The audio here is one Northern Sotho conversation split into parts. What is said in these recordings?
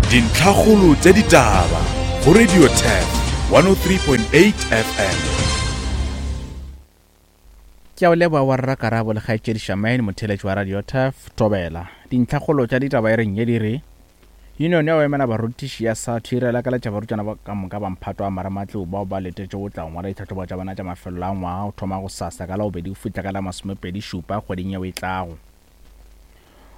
Dintlhakgolo tša ditaba go Radio Turf 103.8 FM. Ke a o leboga wa rra Karabo le kgaetšedi Shamaine motheeletši wa Radio Turf Thobela. Dintlhakgolo tša ditaba e reng ye di re Union ya go emela barutiši ya SATU e re lakaletša barutwana ba ka moka ba mphato wa marematlou bao ba letetšego go tla go ngwala ditlhahlobo tša bona tša mafelelo a ngwaga go thoma gosasa ka Labobedi go fihla ka la masomepedi šupa kgweding yeo e tlago.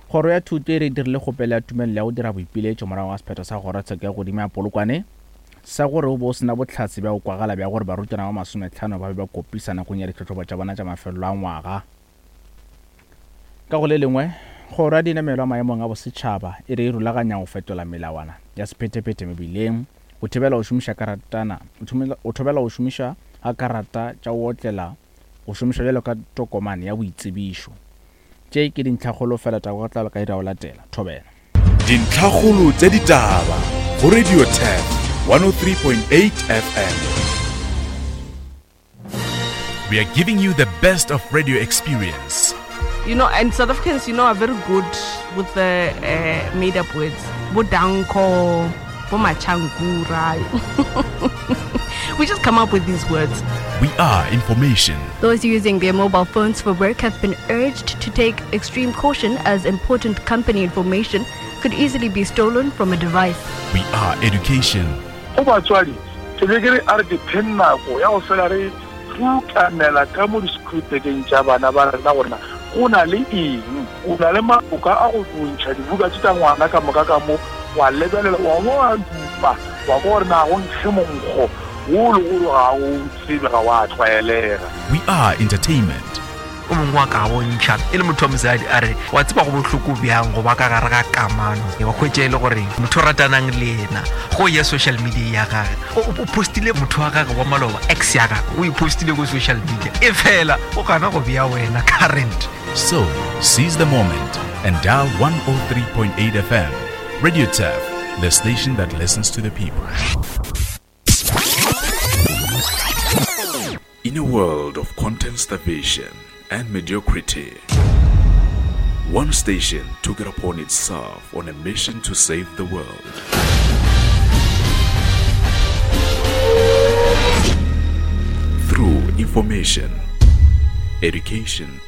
Kgoro ya Thuto e re e dirile kgopelo ya tumelelo ya go dira boipiletšo morago ga sephetho sa Kgorotsheko ya Godimo ya Polokwane sa gore go be go se na bohlatse bja go kwagala bja gore barutwana ba masometlhano ba be ba kopisa nakong ya ditlhahlobo tša bona tša mafelelo a ngwaga. Ka go le lengwe, Kgoro ya Dinamelwa Maemong a Bosetšhaba e re e rulaganya go fetola melawana ya sephethephethe mebileng go thibela go šomiša karatana go thobela go šomiša ga karata tša go otlela go šomišwa bjalo ka tokomane ya boitsebišo. Tše ke dintlhakgolo fela taba ka tlalo ka ira go latela. Thobela. Dintlhakgolo tša ditaba go Radio Turf 103.8 FM. We are giving you the best of radio experience. You know, and South Africans, you know, are very good with the uh, made up words. Bodanko, Bomachangura. we just come up with these words. We are information. Those using their mobile phones for work have been urged to take extreme caution as important company information could easily be stolen from a device. We are education. Go batswadi, ke be ke re a re ke pheng nako ya go fela re rukanela ka mo di-school-bekeng tša bana ba rena gore na go na le eng. O na le maloka a go ntšha dibuka tše tša ngwana ka moka ka mo, wa lebelela, wa bo wa dupa, wa kwa gore na go nkge monkgo wo le gore ga o tsebe, ga wa tlwaelega. We are entertainment. O mongwe wa ka bontšha e le motho wa mosadi a re wa tseba go bohloko bjang go ba ka gare ga kamano wa hwetša e le gore motho o ratanang le yena go ya social media ya gage o postile motho wa gage wa maloba ex ya gage o e postile ko social media e fela o gana go bea wena current. So, seize the moment and dial 103.8 FM. Radio Turf, the station that listens to the people. In a world of content starvation and mediocrity, one station took it upon itself on a mission to save the world. Through information, education,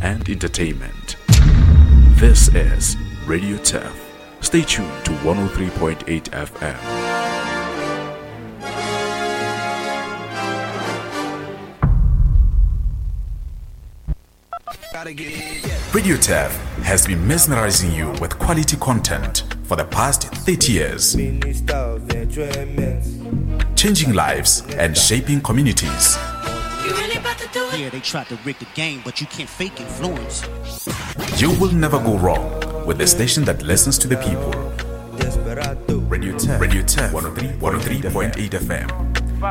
and entertainment. This is Radio Turf. Stay tuned to 103.8 FM. Radio Turf has been mesmerizing you with quality content for the past 30 years. Changing lives and shaping communities. Yeah, they tried to rig the game, but you can't fake influence. You will never go wrong with the station that listens to the people. Radio 10, Radio 10, 103.8 FM.